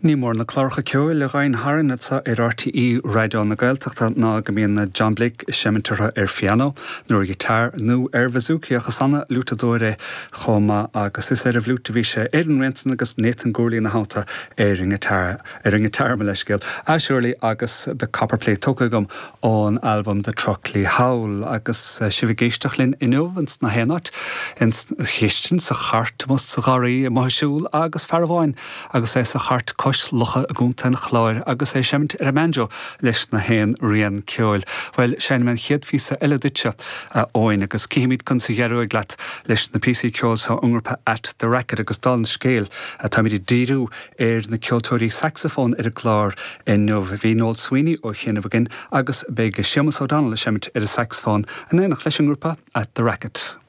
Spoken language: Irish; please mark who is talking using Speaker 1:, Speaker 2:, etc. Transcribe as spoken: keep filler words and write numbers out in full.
Speaker 1: Ní mór na cláracha ceoil a ghabhann tharainn anseo ar RTÉ Raidió na Gaeltachta ná go mbíonn John Blake ag seimint orthu ar phianó, nó ar ghiotár nó ar bhazooka ach is an-fhliútadóir é chomh maith agus is ar an bhfliúit a bhí sé ar an rian san agus Nathan Gourley ina theannta ar an ngiotár ar an ngiotár mo leithscéal. Shirley agus The Copperplate tógtha agam ón album The Truckley Howl agus eh, sibh ag éisteacht linn inniu ins na haon áit ins chistin sa chairt mus sa gharraí amuigh ag siúl agus fear amháin agus é sa chairt cois locha i gContae an Chláir agus é ag seimint ar an mbanjo leis na haon rian ceoil. Well seinnfidh mé an chéad phíosa eile duitse Eoin agus cífimid conas a d'éirigh leat leis na píosaí ceoil seo ón ngrúpa At the Racket agus dála an scéil táimid ag díriú ar na ceoltóirí saxafón ar an gclár inniu bhí Noel Sweeney ó chianaibh againn agus beidh Séamus O'Donnell ag seimint ar an saxafón in éineacht leis an ngrúpa At the Racket.